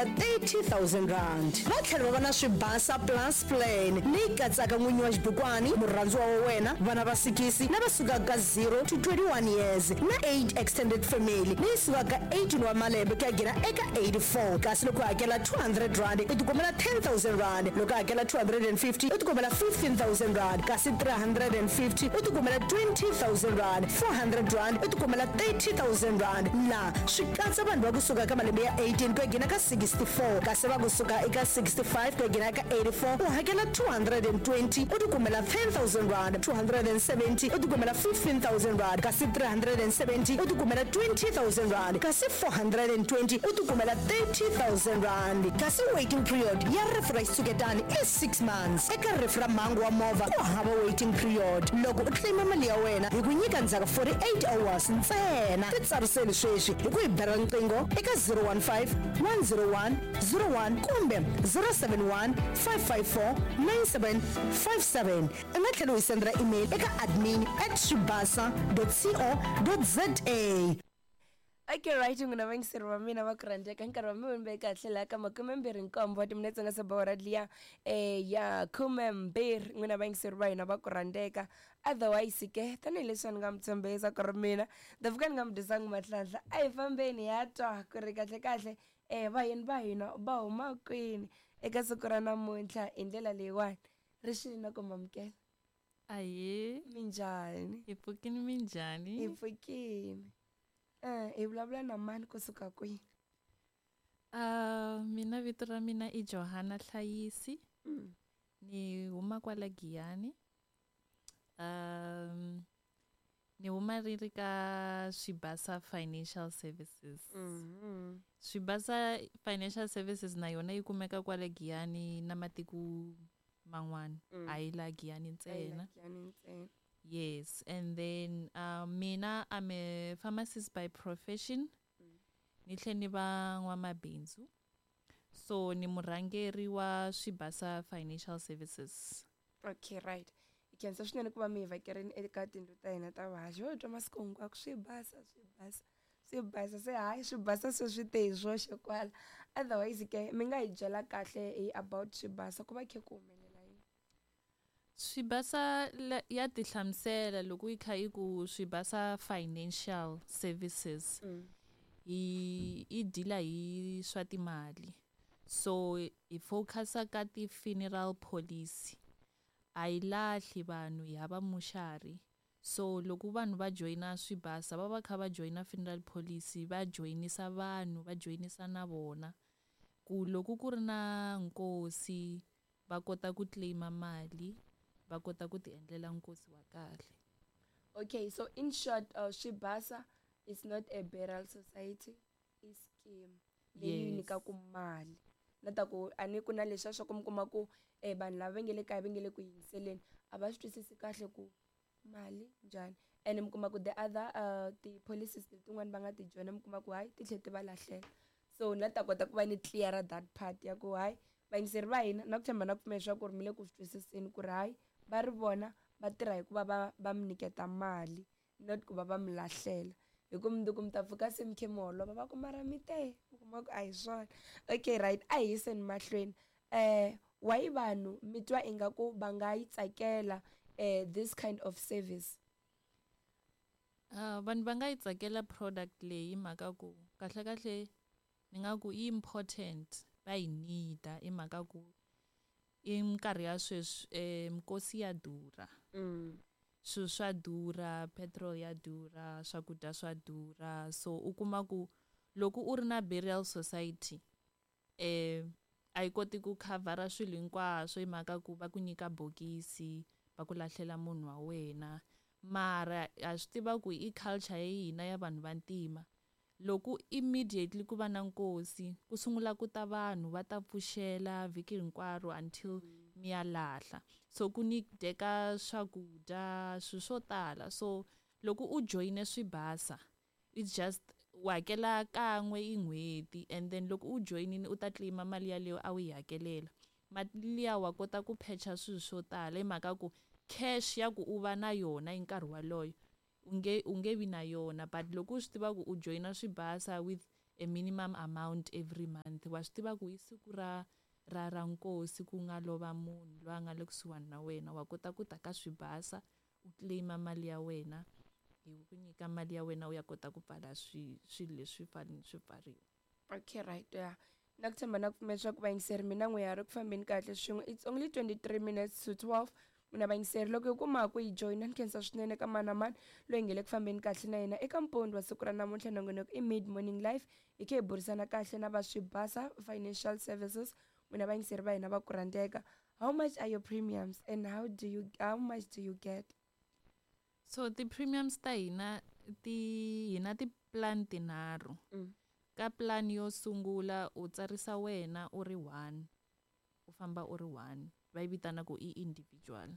R30 000. Va tlhela va va na Swibasa Plus Plan leyi katsaka n'winyi wa xibukwani, murhandziwa wa wena, vana va sikisi lava sukaka ka 0 to 21 years na 8 extended family leyi sukaka ka 18 wa malembe ku ya nghena eka 84. Kasi loko u hakela R200 u tikumela R10 000, loko u hakela R250 u tikumela R15 000, kasi R350 u tikumela R20 000, R400 u tikumela R30 000. La swi katsa vanhu va kusuka ka malembe ya 18 ku ya nghena ka 64, kasi va kusuka eka 65 ku ya nghena ka 84 u hakela 220 u tikumela R10 000, 270 u tikumela R15 000, kasi 370 u tikumela R20 000, kasi 420 u tikumela R30 000. Kasi waiting period ya rifu ra xitshuketani i 6 months. Eka rifu ra mhangu wa movha ku hava waiting period. Loko u claima mali ya wena hi ku nyika ndzhaku 48 hours ntsena. Titsariseli sweswi hi ku hi bela riqingho eka 015 101 01 kumbe 071 554 9757. U nga tlhela u hi sendela email eka admin@swibasa.co.za. Okay, right, n'wina vayingiseri va mina va ku rhandzeka, nkarhi wa mi ve kahle laha ka 27 wa timinetse nga se ba hora liya ya 12. N'wina vayingiseri va hina va ku rhandzeka, otherwise ke tanihileswi a ni nga mi tshembisa ku ri mina ta fika ni nga mi dyisangi mahlanhla, a hi fambeni hi ya twa ku ri kahle kahle vayeni va hina va huma kwini eka siku ra namuntlha. Hi ndlela leyiwani ri xili na ku mamukela. Ahee. Minjhani? Hi pfukini, minjhani? Hi pfukini. Hi vulavula na mani kusuka kwihi? Mina vito ra mina i Johanna Hlayisi. Ni huma kwala Giyani. Ni huma ri ri ka Swibasa Financial Services. Swibasa Financial Services na yona yi kumeka kwale Giyani na matiko man'wana. A yi la Giyani ntsena. Giyani ntsena. Yes, and then mina I'm a pharmacist by profession. Ni tlhe ni va n'wamabindzu. So ni murhangeri wa Swibasa Financial Services. Okay, right. Hi khensa swinene ku va mi hi vhakerini eka tindlu ta hina ta vuhaxi. Ho twa masiku hinkwako Swibasa, Swibasa, Swibasa, se hayi Swibasa se swi te hi swoxe kwala. Otherwise ke mi nga hi byela kahle hi about Swibasa, ku va khe ku humelela yini? Swibasa ya tihlamusela loko yi kha yi ku Swibasa Financial Services. Hi i dealer hi swa timali. So hi focusa ka ti-funeral policy. A yi lahli vanhu, hi hava muxari. So loko vanhu va joyina Swibasa va va kha va joyina funeral policy, va joyinisa vanhu, va joyinisa na vona ku loko ku ri na nkosi va kota ku claima mali, va kota ku ti endlela nkosi wa kahle. Okay, so in short, Swibasa is not a burial society, i scheme leyi nyikaku mali. Na ta ku a ni ku na leswiya swa ku mi kuma ku vanhu lava va nge le kaya va nge le ku yingiseleni a va swi twisisi kahle ku mali njhani, and mi kuma ku the other ti-policies letin'wani va nga ti joyina mi kuma ku hayi ti tlhela ti va lahlela. So ni la ta kota ku va ni clear that part ya ku hayi vayingiseri va hina na ku tshemba na ku pfumela leswaku ri mi le ku swi twisiseni ku ri hayi va ri vona va tirha hi ku va va mi nyiketa mali, not ku va va mi lahlela, hi ku mundzuku mi ta pfuka se mi khe mi holova va ku mara mi te mi kuma ku a hi swona. Okay, right, a hi yiseni mahlweni. Why vanhu mi twa ingaku va nga yi tsakela this kind of service? Vanhu va nga yi tsakela product leyi mhaka ku kahle kahle ni nga ku i important, va yi need-a i mhaka ku i minkarhi ya sweswi mikosi ya durha. Swilo swa durha, petrol ya durha, swakudya swa durha. So u kuma ku loko u ri na burial society a yi koti ku khavhara swilo hinkwaswo hi mhaka ku va ku nyika bokisi va ku lahlela munhu wa wena. Mara ha swi tiva ku i culture ya hina ya vanhu vantima, loko immediately ku va na nkosi ku sungula ku ta vanhu va ta pfuxela vhiki hinkwaro until mi ya lahla. So ku ni dyeka swakudya, swilo swo tala. So loko u joyine Swibasa it's just u hakela kan'we hi n'hweti, and then loko u joyinile u ta claima mali yaleyo a wu yi hakelela. Mali liya wa kota ku phecha swilo swo tala hi mhaka ku cash ya ku u va na yona hi nkarhi waloyo u nge vi na yona, but loko u swi tiva ku u joyina Swibasa with a minimum amount every month. Wa swi tiva ku hi siku ra ra ra nkosi ku nga lova munhu loyi a nga le kusuhani na wena, wa kota ku ta ka Swibasa u claim-a mali ya wena, hi ku nyika mali ya wena u ya kota ku pfala swilo leswi fanele swi pfariwa. Okay, right, yeah. Na ku tshemba na ku pfumela leswaku vayingiseri mina n'we ya ri ku fambeni kahle swin'we. It's only 23 minutes to 12. N'wina vayingiseri loko hi kuma ku yi joyina, ni khensa swinene ka mani na mani loyi nge le ku fambeni kahle na yena eka mpondo wa siku ra namuntlha. Nongonoko i Mid Morning Life, hi khe hi burisana kahle na va Swibasa Financial Services. N'wina vayingiseri va hina va ku rhandzeka, how much are your premiums and how much do you get? So ti-premiums ta hina ti hina ti-plan tinharhu. Ka plan yo sungula u tsarisa wena u ri one, u famba u ri one, va yi vitana ku i individual.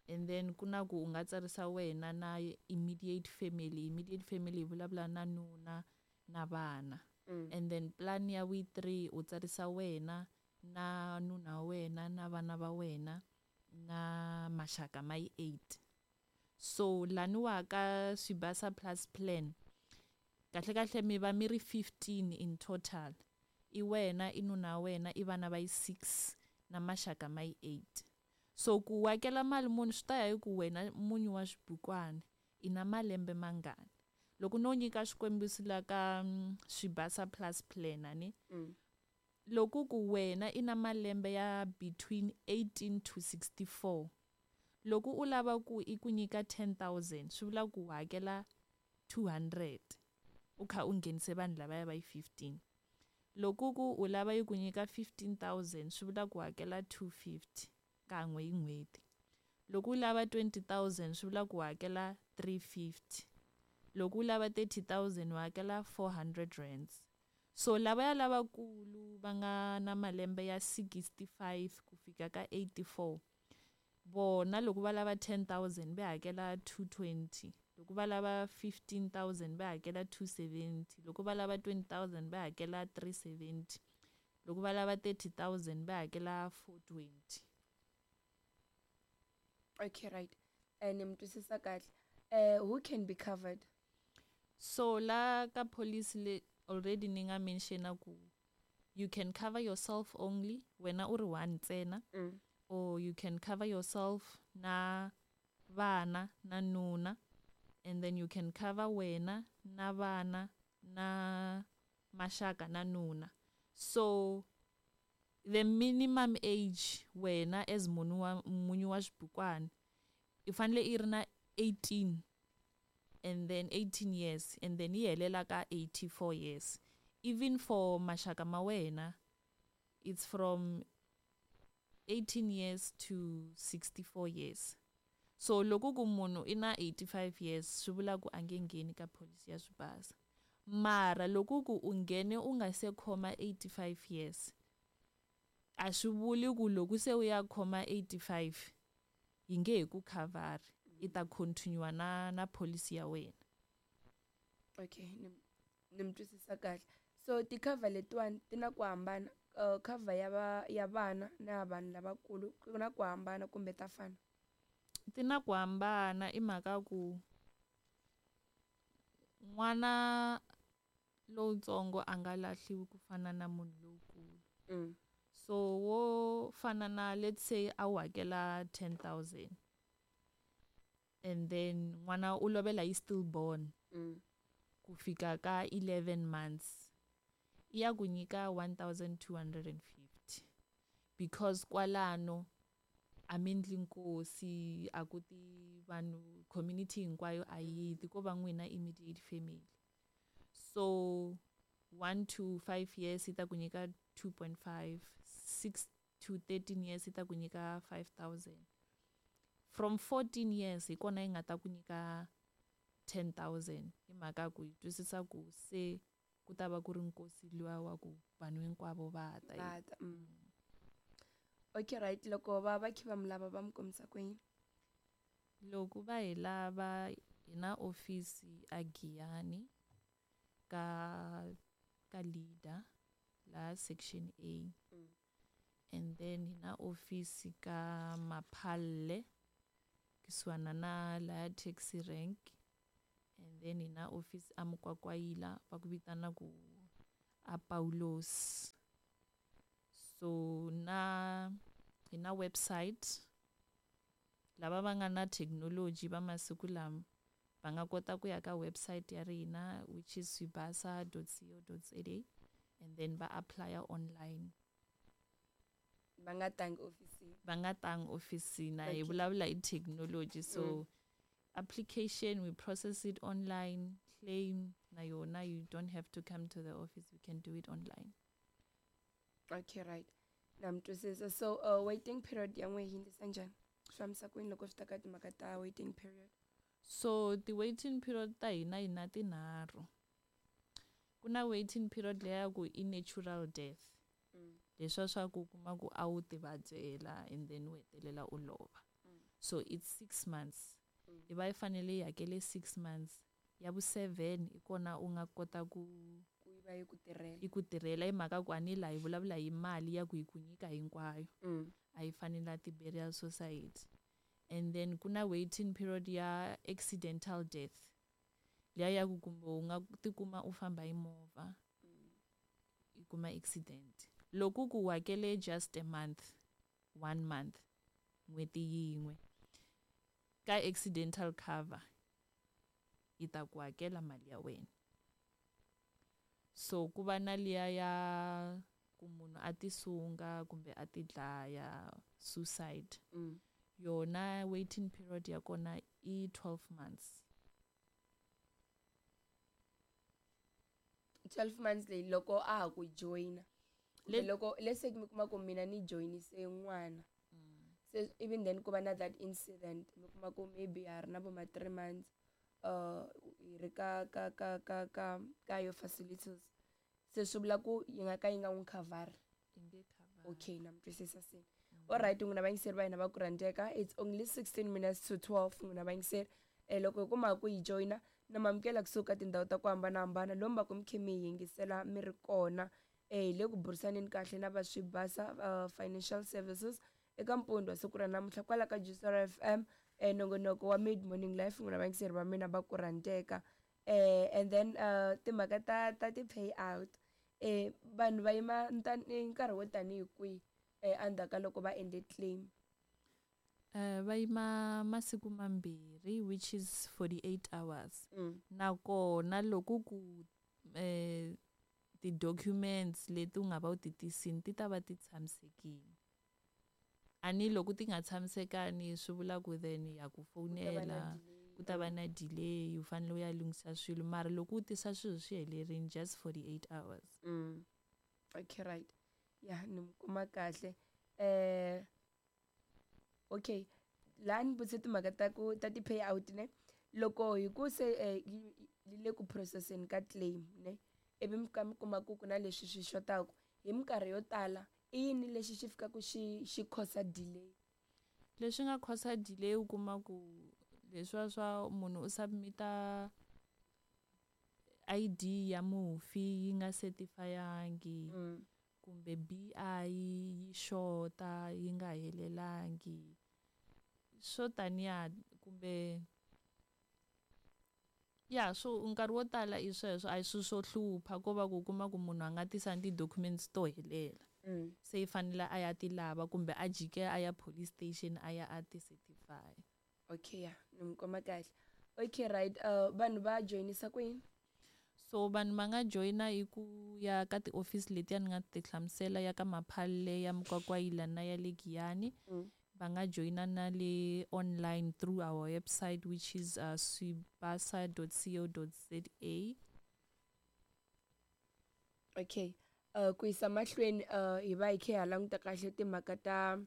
And then ku na ku u nga tsarisa wena na immediate family. Immediate family hi vulavula na nuna na vana. And then plan ya vu 3 u tsarisa wena na nuna wa wena na vana va wena na maxaka ma yi 8. So laniwa ka Swibasa Plus plan kahle kahle mi va mi ri 15 in total. I wena, i nuna wa wena, i vana va yi 6 na maxaka ma yi 8. So ku hakela mali muni swi ta ya hi ku wena munyu wa xibukwana i na malembe mangani. Loko no nyika xikombiso la ka Swibasa Plus plan ani, loko ku wena i na malembe ya between 18 to 64, loko u lava ku i ku nyika 10,000 swi vula ku hakela 200 u kha u nghenise vanhu lavaya va yi 15. Loko ku u lava yi ku nyika 15,000 swi vula ku hakela 250 kan'we hi n'hweti. Loko u lava 20,000 swi vula ku hakela 350. Loko u lava 30,000 u hakela 400 rands. So lavaya lavakulu va nga na malembe ya 65 ku fika ka 84, vona loko va lava 10,000 va hakela 220. Loko va lava 15,000 va hakela 270. Loko va lava 20,000 va hakela 370. Loko va lava 30,000 va hakela 420. Okay, right. Ni mi twisisa kahle. Who can be covered? So la ka policy le already ni nga mentiona ku you can cover yourself only wena u ri one ntsena, or you can cover yourself na vana na nuna, and then you can cover wena na vana na maxaka na nuna. So the minimum age wena as munhu wa munyu wa xibukwana i fanele i ri na 18 and then 18 years and then yi helela ka 84 years. Even for maxaka ma wena it's from 18 years to 64 years. So loko ku munhu i na 85 years swi vula ku a nge ngheni ka policy ya Swibasa. Mara loko ku u nghene u nga se khoma 85 years, a swi vuli ku loko se u ya khoma 85 yi nge he ku khavhari, i ta continue na policy ya wena. Okay, ni mi twisisa kahle. So ti-cover letiwani ti na ku hambana, cover ya vana na ya vanhu lavakulu ku na ku hambana kumbe ta fana? Ti na ku hambana i mhaka ku n'wana lowutsongo a nga lahliwi ku fana na munhu lowukulu. So wo fana na let's say a wu hakela 10,000 and then n'wana u lovela hi stillborn ku fika ka 11 months, i ya ku nyika 1,250 because kwalano a mi endli nkosi, a ku ti vanhu community hinkwayo a yi ti, ko va n'wina immediate family. So 1 to 5 years yi ta ku nyika 2.5, 6 to 13 years yi ta ku nyika 5,000. From 14 years hi kona yi nga ta ku nyika 10,000 hi mhaka ku yi twisisa ku se ku ta va ku ri nkosi luwa wa ku vanhu hinkwavo va ta. Va ta. Okay, right. Loko va kha va mi lava va mi kombisa ku yini? Loko va hi lava hi na office a Giyani ka leader la section A. And then hi na office ka Maphalle kusuhana na la taxi rank. And then hi na office a Mukwakwayila va ku vitana ku A Paulos. So na hi na website lava va nga na thekinoloji va masiku lama va nga kota ku ya ka website ya rina, which is swibasa.co.za, and then va apply online. Va nga tangi ofisini. Va nga tangi ofisini. Hi vulavula hi thekinoloji. So application, we process it online. Claim na yona, you don't have to come to the office, you can do it online. Okay, right, na mi twisisa. So waiting period ya n'we yi ndlisa njhani, swi fambisa kwini loko swi ta ka timhaka ta waiting period? So ti-waiting period ta hina, hi na tinharhu. Ku na waiting period leya ya ku i natural death, leswiya swa ku kuma ku a wu ti vabyela and then u hetelela u lova. So it's 6 months. I va yi fanele yi hakele 6 months, ya vu 7 i kona u nga kota ku ku yi va yi ku tirhela. I ku tirhela, hi mhaka ku a ni laha hi vulavula hi mali ya ku hi ku nyika hinkwayo, a yi fani na ti-burial society. And then ku na waiting period ya accidental death, liya ya ku kumbe u nga tikuma u famba hi movha, i kuma accident. Loko ku hakele just a month, one month, n'hweti yin'we, ka accidental cover yi ta ku hakela mali ya wena. So ku va na liya ya ku munhu a tisunga kumbe a ti dlaya, suicide. Yona waiting period ya kona i 12 months. 12 months leyi loko a ha ku joyina? Loko let's say mi kuma ku mina ni joyinise n'wana, se even then ku va na that incident, mi kuma ku maybe ha ri na vo ma 3 months hi ri ka yo facilities, se swi vula ku yi nga ka yi nga n'wi khavhari? Yi nge cover. Okay, na mi twisisa se. Alright, n'wina vayingiseri va hina va ku rhandzeka, it's only 16 minutes to 12. N'wina vayingiseri, loko hi kuma ku yi joyina, na mamukela kusuka tindhawu ta ku hambanahambana lomu va ku mi khe mi hi yingisela mi ri kona. Hi le ku burisaneni kahle na va Swibasa Financial Services eka mpundzu wa siku ra namuntlha kwala ka Juicer FM, nongonoko wa Mid Morning Life. N'wina vayingiseri va mina va ku rhandzeka, and then timhaka ta ti-pay out, vanhu va yima nkarhi wo tanihi kwihi endzhaku ka loko va endle claim? Va yima masiku 2, which is 48 hours. Nakona loko ku ti-documents leti u nga va u ti tisini ti ta va ti tshamisekile, a ni loko ti nga tshamisekani swi vula ku then ya ku fonela, ku ta va na delay, u fanele u ya lunghisa swilo. Mara loko u tisa swilo swi helerile, just 48 hours. Okay, right, ya ni mi kuma kahle. Okay, laha ni vutise timhaka ta ku ta ti-pay out ne. Loko hi ku se yi le ku processeni ka claim ne, ivi mi fika mi kuma ku ku na leswi swi xotaka, hi minkarhi yo tala i yini lexi xi fikaka xi cause delay? Leswi nga cause delay, u kuma ku leswiya swa munhu u submita ID ya mufi yi nga certifyangi, kumbe BI yi xota, yi nga helelangi, swo taniya, kumbe ya swo nkarhi wo tala i sweswo. A hi swilo swo hlupha, ko va ku kuma ku munhu a nga tisangi ti-documents to helela, se i fanele a ya ti lava kumbe a jike a ya police station a ya a ti certify. Okay, ya ni mi kuma kahle. Okay, right, vanhu va joyinisa kwini? So vanhu va nga joyina hi ku ya ka tiofisi letiya ni nga ti hlamusela, ya ka Maphalle, ya Mukwakwayila na ya le Giyani. Va nga joyina na le online through our website, which is swibasa.co.za. Okay, ku yisa mahlweni, hi va hi khe ha languta kahle timhaka ta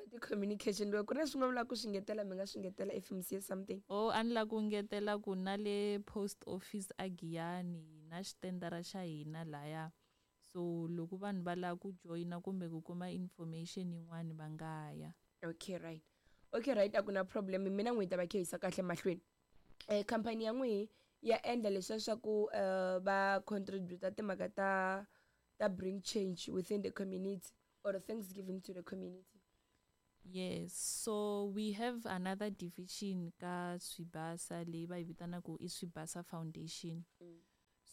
ti-communication. Loko ku ri na swin'wana mi lava ku swi ngetela, mi nga swi ngetela if mi siye something. O a ni lava ku ngetela ku na le post office a Giyani na xitendara xa hina laya, so loko vanhu va lava ku joyina kumbe ku kuma information yin'wani, va nga ya. Okay, right, okay, right, a ku na problem. Mina n'wi ta va khe yisa kahle mahlweni. Khampani ya n'wihi ya endla leswiya swa ku va contributa timhaka ta bring change within the community or thanksgiving to the community? Yes, so we have another division ka Swibasa leyi va yi vitanaka i Swibasa Foundation.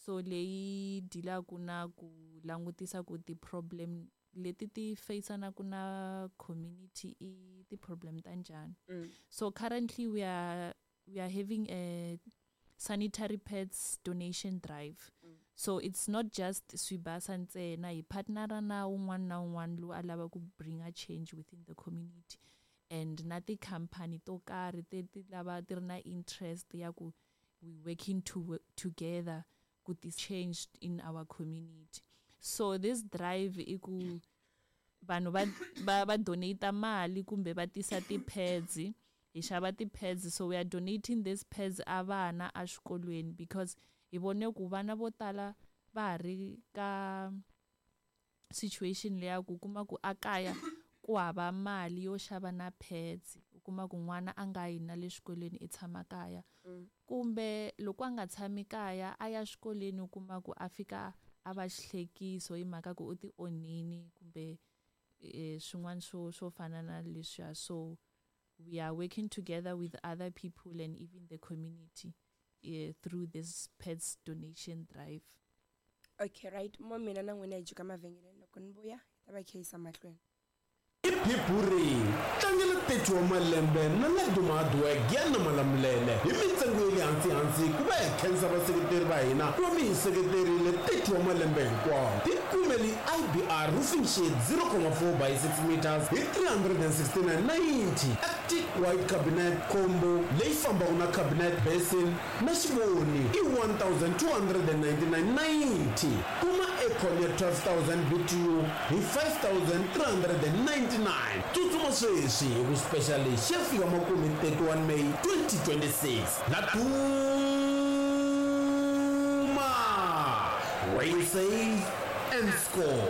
So leyi dealaka na ku langutisa ku ti-problem leti ti faceanaka na community i ti-problem ta njhani. So currently we are having a sanitary pads donation drive. So it's not just Swibasa ntsena, hi partnera na un'wana na un'wana loyi a lava ku bring a change within the community and na ti-company to karhi ti ti lava ti ri na interest ya ku we working together ku ti change in our community. So this drive i ku vanhu va donate mali kumbe va tisa ti-pads, hi xava ti-pads. So we are donating these pads a vana exikolweni because hi vone ku vana vo tala va ha ri ka situation leya ku kuma ku a kaya ku hava mali yo xava na pads. U kuma ku n'wana a nga yi na le xikolweni, i tshama kaya, kumbe loko a nga tshami kaya a ya xikolweni, u kuma ku a fika a va xihlekiso hi mhaka ku u ti onhini kumbe swin'wana swo fana na leswiya. So we are working together with other people and even the community through this pads donation drive. Okay, right, mo mina na n'wina hi jika mavhengeleni, loko ni vuya hi ta va kha yisa mahlweni. Iphipuri tlangela 30 wa malembe na Laduma Hardwork ya na Malamulele hi mintsengo ya le hansi hansi ku va hi khensa vaseketeri va hina ku va mi hi seketerile 30 wa malembe hinkwawo. Tikumeli IBR roofing sheet 0,4 by 6 meters hi 369.90, Arctic white cabinet combo leyi fambaka na cabinet, basin na xivoni i 1299.90. Kuma aircon ya 12,000 BTU hi 5399. Tsutsuma sweswi hi ku special lexi ya fika makumu hi 31 May 2026. Laduma, where you save and score.